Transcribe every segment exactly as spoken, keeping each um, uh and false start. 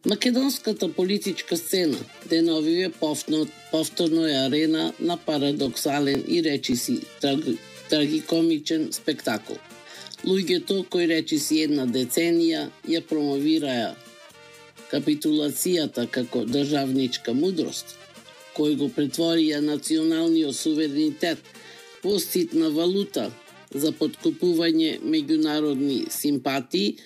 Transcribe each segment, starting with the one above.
Македонската политичка сцена деновиве повторно е арена на парадоксален и речиси траг, трагикомичен спектакл. Луѓето кои речиси една деценија ја промовираја капитулацијата како државничка мудрост, кој го претворија националниот суверенитет во ситна валута за подкупување меѓународни симпатии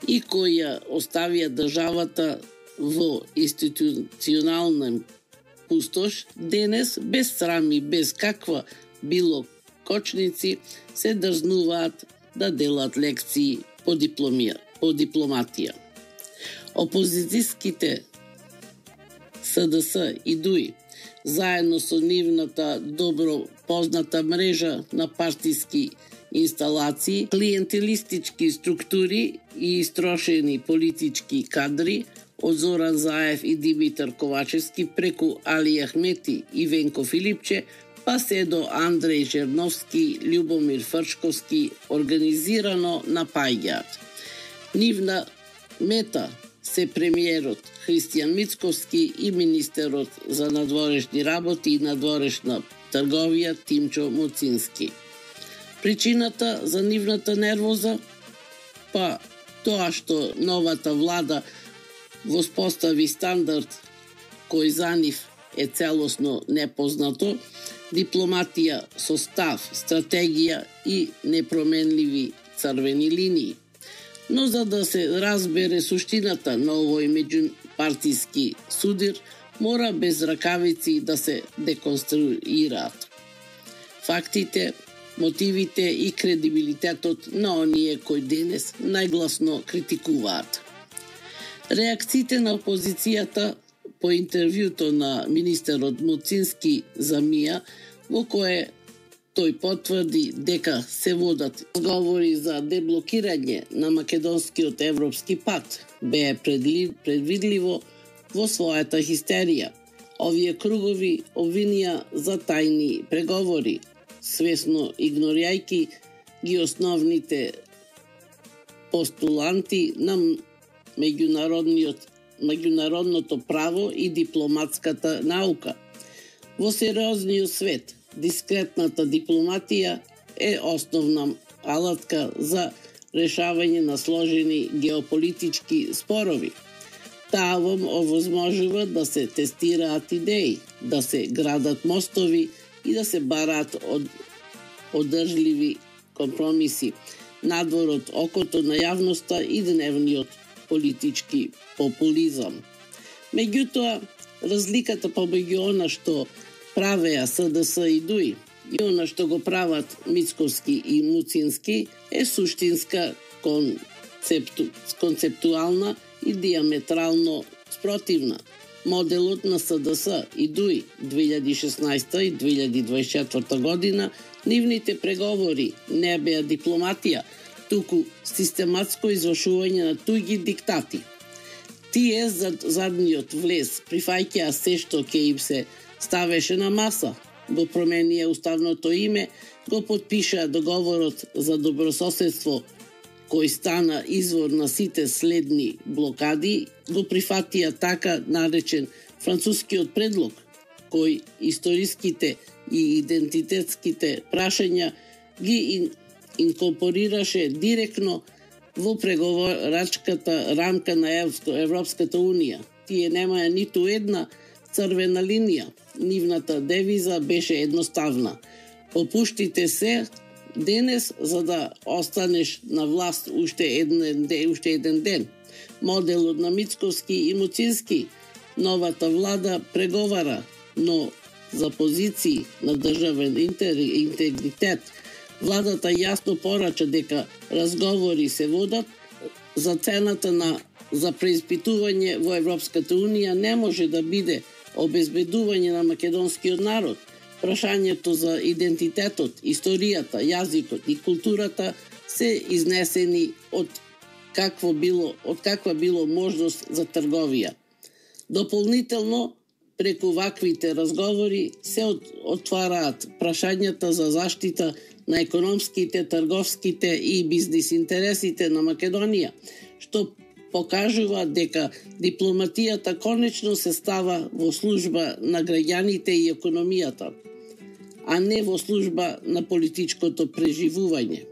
и која оставија државата во институционална пустош, денес без срам и без каква било кочници се дрзнуваат да делат лекции по дипломија, по дипломатија. Опозицијските СДС и ДУИ заедно со нивната добро позната мрежа на партиски инсталации, клиентелистички структури и истрошени политички кадри од Зоран Заев и Димитар Ковачевски преку Али Ахмети и Венко Филипче, па се до Андреј Жерновски, Љубомир Фрчковски организирано напаѓаат. Нивна мета се премиерот Христијан Мицковски и министерот за надворешни работи и надворешна трговија Тимчо Муцински. Причината за нивната нервоза? Па тоа што новата влада воспостави стандард кој за нив е целосно непознато, дипломатија со став, стратегија и непроменливи црвени линии. Но за да се разбере суштината на овој меѓупартиски судир, мора без ракавици да се деконструираат фактите, мотивите и кредибилитетот на оние кои денес најгласно критикуваат. Реакциите на опозицијата по интервјуто на министерот Муцински за МИА, во кое тој потврди дека се водат разговори за деблокирање на македонскиот европски пат, бе предвидливо во својата хистерија. Овие кругови обвинија за тајни преговори, свесно игнорирајќи ги основните постуланти на меѓународниот меѓународното право и дипломатската наука. Во сериозниот свет, дискретната дипломатија е основна алатка за решавање на сложени геополитички спорови. Таа овозможува да се тестираат идеи, да се градат мостови и да се бараат од одржливи компромиси надвор од окото на јавноста и дневниот политички популизам. Меѓутоа, разликата помеѓу она што правеа СДС и ДУИ и она што го прават Мицковски и Муцински е суштинска, концепту, концептуална и диаметрално спротивна. Моделот на СДС и ДУИ две илјади и шеснаесета и две илјади дваесет и четврта година, нивните преговори не беа дипломатија, туку систематско извршување на туѓи диктати. Тие зад задниот влез прифаќаа се што ќе им се ставеше на маса, го променија уставното име, го потпишаа договорот за добрососедство кој стана извор на сите следни блокади, го прифатија така наречен францускиот предлог, кој историските и идентитетските прашања ги инкорпорираше директно во преговарачката рамка на Европската унија. Тие немаја ниту една црвена линија. Нивната девиза беше едноставна. Попуштите се денес за да останеш на власт уште еден ден, уште еден ден. Моделот на Мицковски и Муцински. Новата влада преговара, но за позиции на државен интегритет. Владата јасно порача дека разговори се водат за цената на за преиспитување во Европската унија не може да биде обезбедување на македонскиот народ. Прашањето за идентитетот, историјата, јазикот и културата се изнесени од какво било, од каква било можност за трговија. Дополнително, преку ваквите разговори се отвараат прашањата за заштита на економските, трговските и бизнис интересите на Македонија, што покажува дека дипломатијата конечно се става во служба на граѓаните и економијата, а не во служба на политичкото преживување.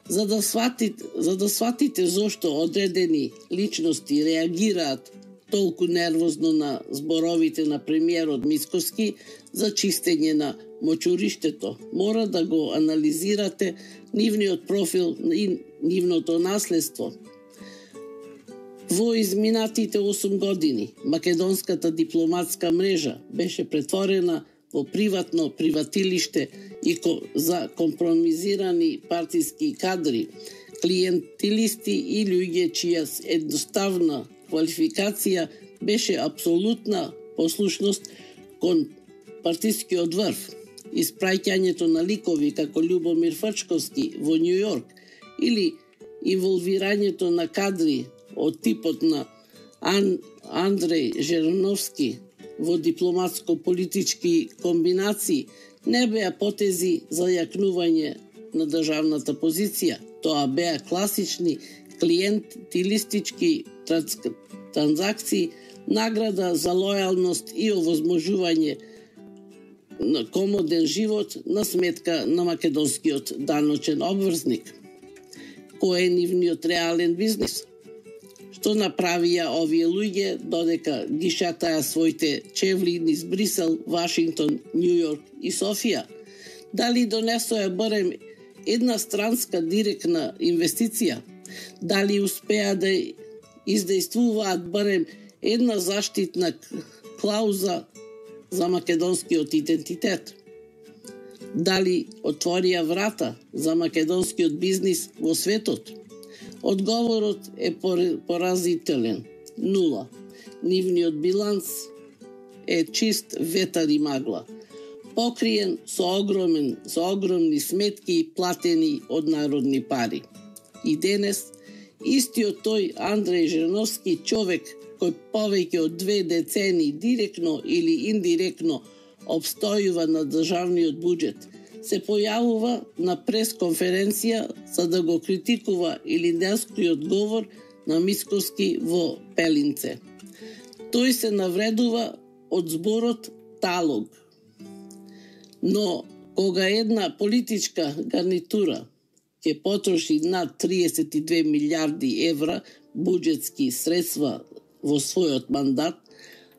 За да сватите, за да сватите зошто одредени личности реагираат толку нервозно на зборовите на премиерот Мицкоски за чистење на мочуриштето, мора да го анализирате нивниот профил и нивното наследство. Во изминатите осум години македонската дипломатска мрежа беше претворена во приватно приватилиште и за компромизирани партиски кадри, клиентилисти и луѓе чија едноставна квалификација беше апсолутна послушност кон партискиот врв, испраќањето на ликови како Љубомир Фрчковски во Њу Јорк или инволвирањето на кадри од типот на Ан, Андреј Жерновски во дипломатско-политички комбинации не беа потези за јакнување на државната позиција. Тоа беа класични клиентилистички транзакции, награда за лојалност и овозможување на комоден живот на сметка на македонскиот даночен обврзник. Кој е нивниот реален бизнис? Што направија овие луѓе додека ги шатаја своите чевли низ Брисел, Вашингтон, Њу Јорк и Софија? Дали донесоја барем една странска директна инвестиција? Дали успеа да издействуваат барем една заштитна клауза за македонскиот идентитет? Дали отворија врата за македонскиот бизнис во светот? Одговорот е поразителен. Нула. Нивниот биланс е чист ветар и магла, покриен со огромен, со огромни сметки платени од народни пари. И денес истиот тој Андреј Жерновски, човек кој повеќе од две децени директно или индиректно обстојува на државниот буџет, се појавува на пресконференција за да го критикува илинденскиот говор на Мицкоски во Пелинце. Тој се навредува од зборот талог. Но кога една политичка гарнитура ќе потроши над триесет и две милиарди евра буџетски средства во својот мандат,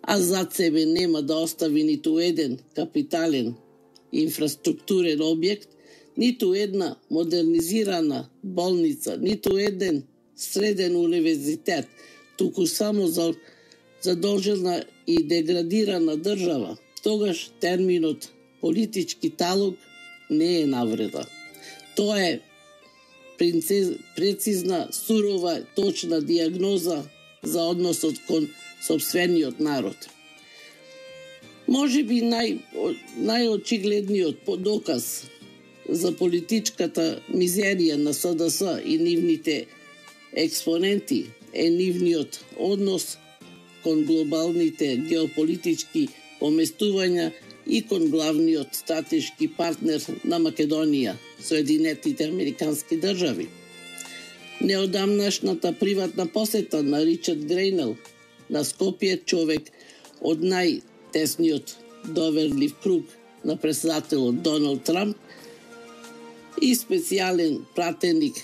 а зад себе нема да остави ниту еден капитален инфраструктурен објект, ниту една модернизирана болница, ниту еден среден универзитет, туку само за задолжена и деградирана држава, тогаш терминот политички талог не е навреда. Тоа е прецизна, сурова, точна диагноза за односот кон сопствениот народ. Може би нај, најочигледниот доказ за политичката мизерија на С Д С и нивните експоненти е нивниот однос кон глобалните геополитички поместувања и кон главниот стратешки партнер на Македонија, Соединетите Американски држави. Неодамнашната приватна посета на Ричард Грейнел на Скопје, човек од најтесниот доверлив круг на председателот Доналд Трамп и специјален пратеник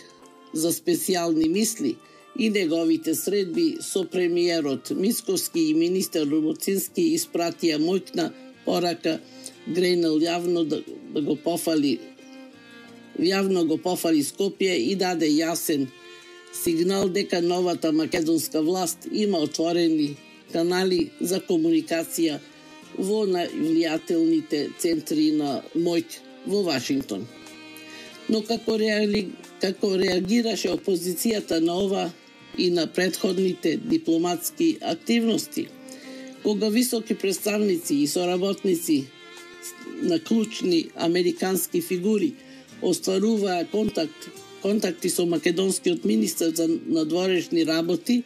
за специјални мисли и неговите средби со премиерот Мицкоски и министер Румуцински испратија моќна порака Грейнел јавно да, да го пофали јавно го пофали Скопје и даде јасен сигнал дека новата македонска власт има отворени канали за комуникација во највлијателните центри на моќ во Вашингтон. Но како, реали, како реагираше опозицијата на ова и на претходните дипломатски активности, кога високи представници и соработници на клучни американски фигури остваруваа контакт, контакти со македонскиот министер за надворешни работи,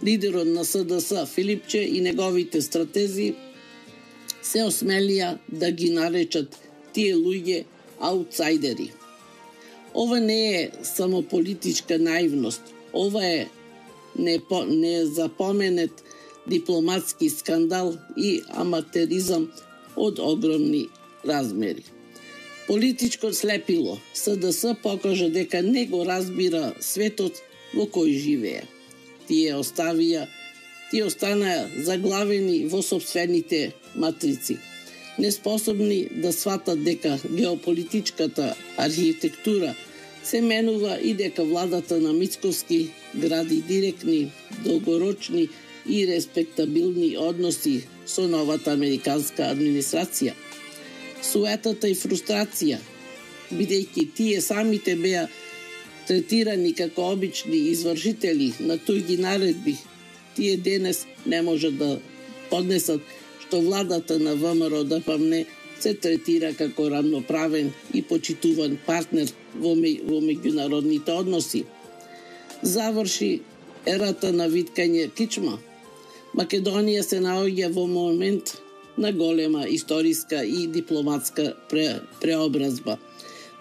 лидерот на С Д С Филипче и неговите стратези се осмелија да ги наречат тие луѓе аутсайдери. Ова не е само политичка наивност, ова е не, по, не запоменет дипломатски скандал и аматеризам од огромни размери. Политичко слепило С Д С покажа дека не го разбира светот во кој живее. Тие оставија, тие останаа заглавени во сопствените матрици, неспособни да сватат дека геополитичката архитектура се менува и дека владата на Мицковски гради директни, долгорочни и респектабилни односи со новата американска администрација. Суетата и фрустрација, бидејќи тие самите беа третирани како обични извршители на туѓи наредби, тие денес не можат да поднесат што владата на В М Р Д П М Н Е се третира како рамноправен и почитуван партнер во, ме, во меѓународните односи. Заврши ерата на виткање кичма. Македонија се наоѓа во момент на голема историска и дипломатска пре, преобразба.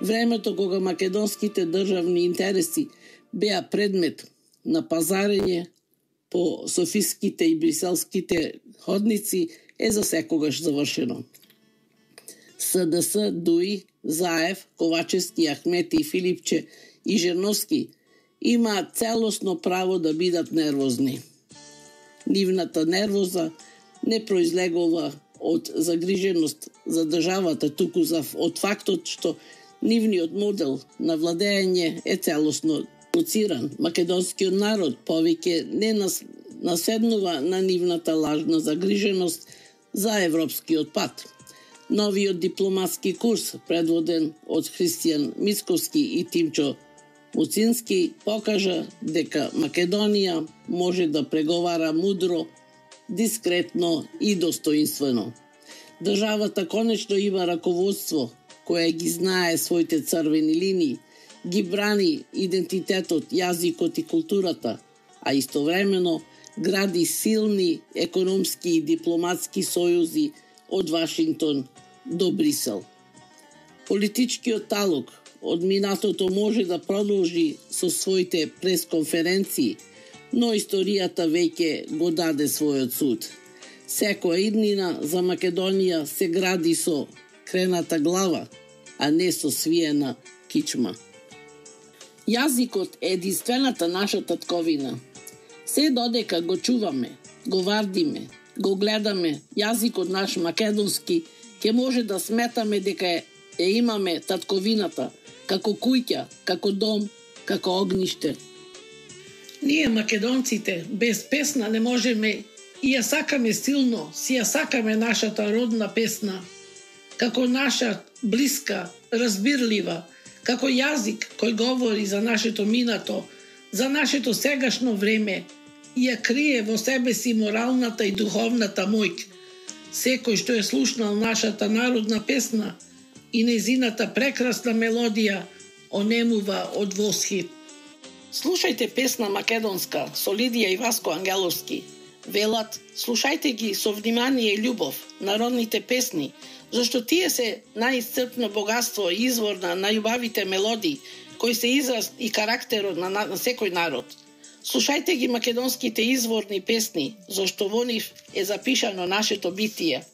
Времето кога македонските државни интереси беа предмет на пазарење по софиските и бриселските ходници е за секогаш завршено. С Д С, Дуи, Заев, Ковачевски, Ахмети и Филипче и Жерновски имаат целосно право да бидат нервозни. Нивната нервоза не произлегува од загриженост за државата, туку за од фактот што нивниот модел на владење е целосно луциран. Македонскиот народ повеќе не нас, наседнува на нивната лажна загриженост за европскиот пат. Новиот дипломатски курс, предводен од Христијан Мицковски и Тимчо Муцински, покажа дека Македонија може да преговара мудро, дискретно и достоинствено. Државата конечно има раководство кое ги знае своите црвени линии, ги брани идентитетот, јазикот и културата, а истовремено гради силни економски и дипломатски сојузи од Вашингтон до Брисел. Политичкиот талог од минатото може да продолжи со своите пресконференции, но историјата веќе го даде својот суд. Секоја иднина за Македонија се гради со крената глава, а не со свиена кичма. Јазикот е единствената наша татковина. Се додека го чуваме, го вардиме, го гледаме јазикот наш македонски, ќе може да сметаме дека е, е имаме татковината, како куќа, како дом, како огниште. Ние македонците без песна не можеме и ја сакаме силно, си ја сакаме нашата родна песна, како наша блиска, разбирлива, како јазик кој говори за нашето минато, за нашето сегашно време и ја крие во себе си моралната и духовната моќ. Секој што е слушнал нашата народна песна и нејзината прекрасна мелодија онемува од восхит. Слушајте песна македонска со Лидија и Васко Ангеловски. Велат, слушајте ги со внимание и љубов, народните песни, зашто тие се најисцрпно богатство и извор на најубавите мелодии, кои се израз и карактерот на, на, на секој народ. Слушајте ги македонските изворни песни, зашто во нив е запишано нашето битие.